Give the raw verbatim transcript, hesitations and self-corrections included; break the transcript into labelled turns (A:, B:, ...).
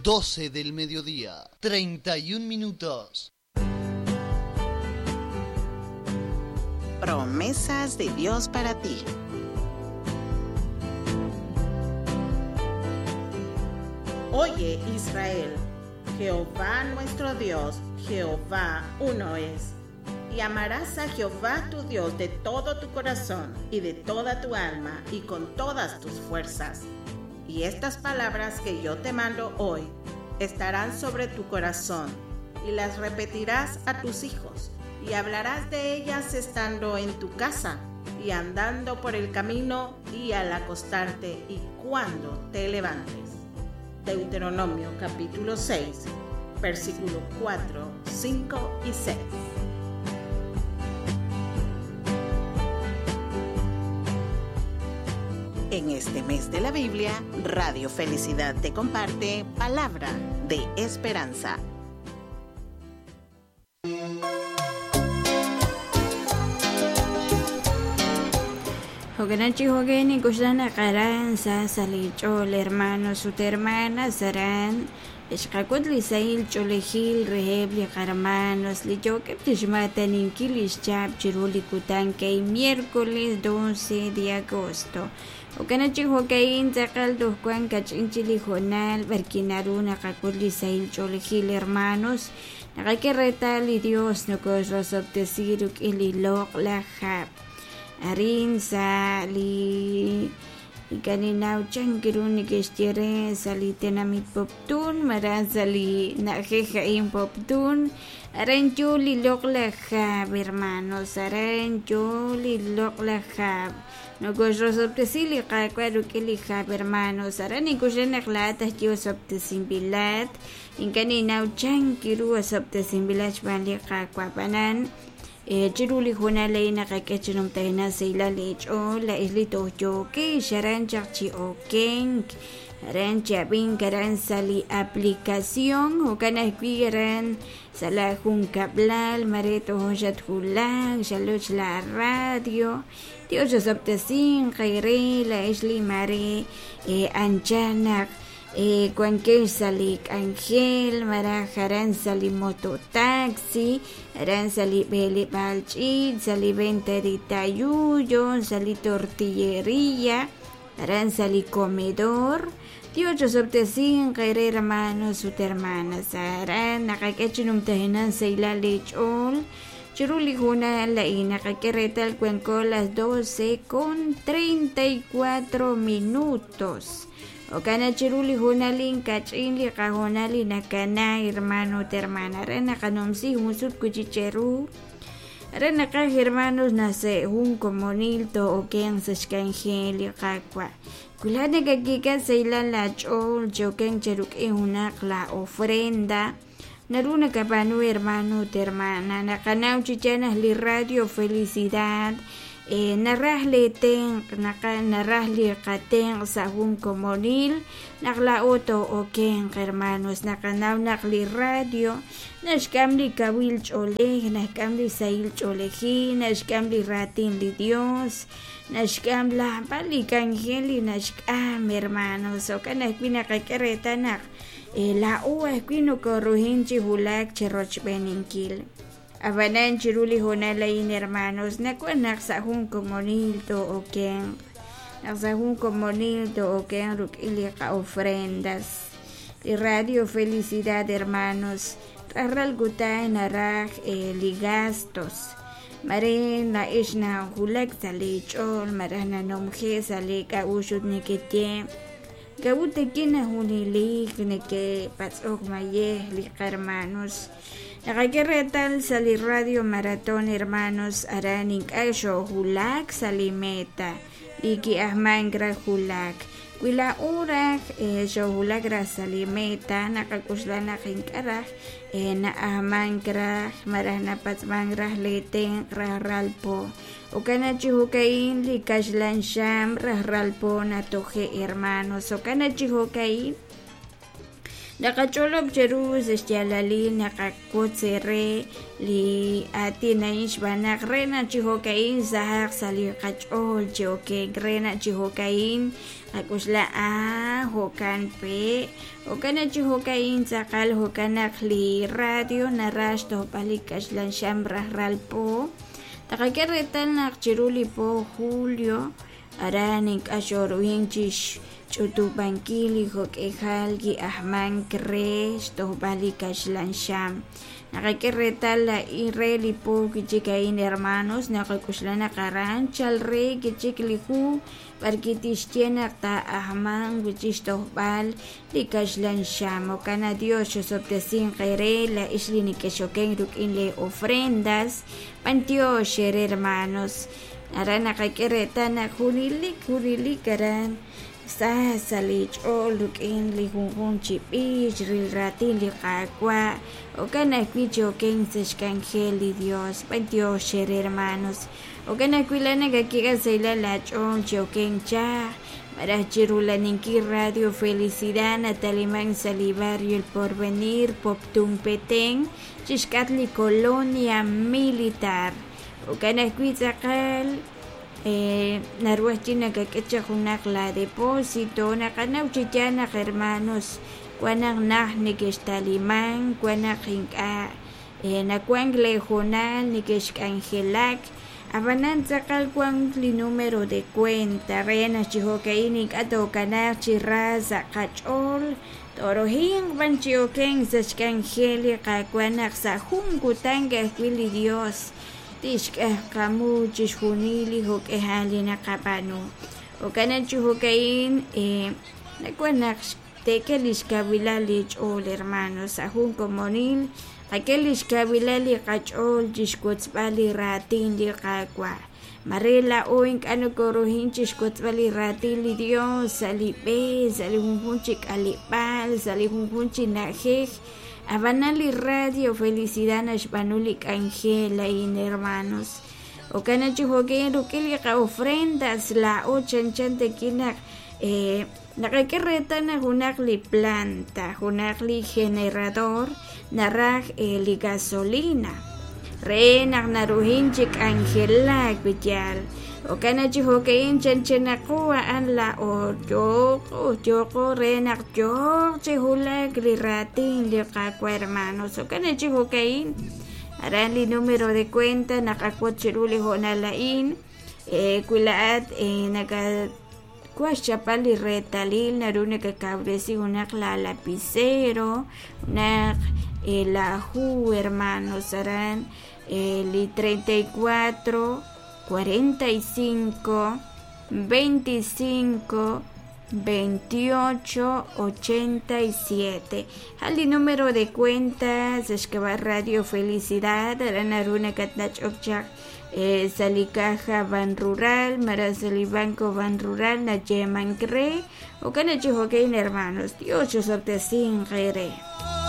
A: doce del mediodía, treinta y un minutos.
B: Promesas de Dios para ti. Oye, Israel, Jehová nuestro Dios, Jehová uno es. Y amarás a Jehová tu Dios de todo tu corazón y de toda tu alma y con todas tus fuerzas. Y estas palabras que yo te mando hoy estarán sobre tu corazón y las repetirás a tus hijos y hablarás de ellas estando en tu casa y andando por el camino y al acostarte y cuando te levantes. Deuteronomio capítulo seis, versículo cuatro, cinco y seis. En este mes de la Biblia, Radio Felicidad te comparte Palabra de Esperanza.
C: Hoganachi hogeni kusana karan sa salichol hermanos sut hermanas saran ixqakut li sahil ch'olejil reheb li qarmanos li yokeb tixmataninkil ixchab chiru li kutan kay miércoles doce de agosto. Hoganachi hogain tzaqal tojkuan kach'inchi li jonal barkinaru naqakut li sahil ch'olejil hermanos naqake retal li Dios nokoxrosobtesi ruk'in li loq la jab. Arin sa li ikaninau chankiru nikextiere sa li tenamit poptun maran sa li najejain poptun aran yu li loqlajab hermanos aran yu li loqlajab nokoxrosobtesi li qakwa ruk'in li jab hermanos aran ikuxenaq laatah yu sobtesimbilat inkaninau chankiru asobtesimbilat xb'aan li qakwa panan chiru li junal naqak'e numtahina sayla lich'ol la isli tohyoke xaran chaq chi okenk aran chabin karan sali aplicación jo'kan ajwi' aran sa la junkablal mare tojon xatjulak xaloch la radio Dios xosobtesin qayre la isli mare anchanaq cuanque sali angel mara jaran sali mototaxi aran sali bele balchit sali venta de tayuyo sali tortillería aran sali comedor Dios sobtesin qayre hermanos sut hermanas aran naqak'echinum tajinan sayla lech'ol chiruli junal la inaqak'eretal cuenco las doce con treinta y cuatro minutos. Okana chiruli junalin kach'in li qajunali nakana hermano hermana rena qanomsi junsut kuchicheru rena qaj hermanos nase jun komonil to oken sachkanjel li qakwa kulana kakika seilan la ch'ol choken cheruk'in junaq la ofrenda naruna kapanu hermano hermana naqanaw chichanaj li Radio Felicidad Eh, naraj li tenq naqa naraj li qatenq sa jun komonil naq la oto okenq hermanos naqanaw naq li radio naxk'am li kawil ch'olej naxk'am li sahil ch'olejil naxk'am li ratin li Dios naxk'am lajb'al li k'anjel li naxk'am hermanos jo'kan ajwi' naqak'e reetal naq eh, la'o ajwi' nokorujin chi wulak chi rochb'eninkil. Abanan chiruli jonalain hermanos nakuan naq sa jun komonil to oken naq sa jun komonil to oken ruk'in li qa ofrendas li Radio Felicidad hermanos rajral kutan naraj eh, li gastos mare na ixna julak sa li ch'ol maraj nanomje sa li k'a'uxut nikitye kawutekina junilik neke patz'ok mayej li qarmanos. Naqak'e retal sali Radio Maratón hermanos aran ink'a' xojulak sali meta li ki'ajman raj julak wi la'o raj xojulak raj sali meta naqak'uxlaj naq ink'a' raj na'ajman raj maraj napatz'man raj li tenq raj ralpo okana chi jo'ka'in li kaxlan xam raj ralpo natoje' hermanos okana chi jo'ka'in Naqach'olob' cheru sa' xyaalalil naqawotz re li aatin a'in xb'aan naq re naq chi jo'ka'in sahaq sa' li qach'ool chi okenk re naq chi jo'ka'in qak'uxla ah jo'kan pe' jo'kan naq chi jo'ka'in tz'aqal jo'kan naq li radio naraj xtojb'al li kaxlan xam rajlal po taqak'e reetal naq chiru li po julio aran ink'a' xoruhin chixch'utub'ankil li jo'k'ejal ki'ajmank re xtojb'al li kaxlan xam naqak'e reetal a'in re li po kichik a'in hermanos naqak'uxla naq aran chal re kichik li hu b'ar kitixye naq taa'ajmanq wi'chik xtojb'al li kaxlan xam jo'kan Dios xosob'tesinq eere la'ix li nekexoken rik'in le ofrendas b'antiox eere hermanos aran naqak'e reetal naq junelik junelik aran sa sa' li ch'ool rik'in li junjunq chi b'ich ril raatin li Qaawa' jo'kan ajwi' chi okenk sa' xk'anjel li Dios b'antiox eere hermanos jo'kan ajwi' la nakak'e sahilal laach'ool chi okenk chaj maraj chirulaninkil Radio Felicidad nataliman sa' li barrio El Porvenir Poptún Petén chixk'atq li Colonia Militar jo'kan ajwi' tz'aqal eh, naru ajwi' nakak'e chaq junaq la depósito naqanaw chi yaal naq hermanos wan naq naj nekextaliman wan naq ink'a' eh, nawank leehoonal nekexk'anjelak ab'anan tz'aqal wan li número de cuenta re naq chi jo'ka'in ink'a' tookanaaq chi ra sa' qach'ool torohinq b'an chi okenk sa' xk'anjel li Qaawa' naq sa' jun kutan ajwi' li Dios tixk'ajkamu chixjunil li jo'k'ejal li naqab'aanu jo'kan naq chi jo'ka'in eh, nawan naq teek'e li xkawilal li ch'ool hermanos sa' jun komonil qak'e li xkawilal li qach'ool chixwotzb'al li raatin li Qaawa' mare la'o ink'a' nokoruhin chixwotzb'al li raatin li Dios sa' li b'e sa' li junjunq chi k'aleb'aal sa' li junjunq chi na'ajej ab'anan li Radio Felicidad naxb'aanu li k'anjel a'in hermanos jo'kan naq chi jo'ka'in rik'in li qa'ofrendas la'o chanchan tekin naq eh, naqak'e reetal naq junaq li planta junaq li generador naraj eh, li gasolina re naq naruhin chi k'anjelak yaal jo'kan naq chi jo'ka'in chanchanaqu a'an la'o yooqo yooqo re naq yooq chi wulak li raatin li Qaawa' hermanos jo'kan naq chi jo'ka'in aran li número de cuenta naqawotz chiru li hoonal a'in eh, wi la'at eh, naka wa xchapal li reetalil naru nakakawresi junaq la lapicero junaq eh, la hu hermanos aran eh, li treinta y cuatro cuarenta y cinco veinticinco veintiocho ochenta y siete jal li número de cuenta sa xk'ab'a' Radio Felicidad aran naru nakatnach'ok chaq eh, sa' li caja Banrural maraj sa' li Banco Banrural nayeemank re jo'kan naq chi jo'ka'in hermanos Dios xosob'tesinq eere.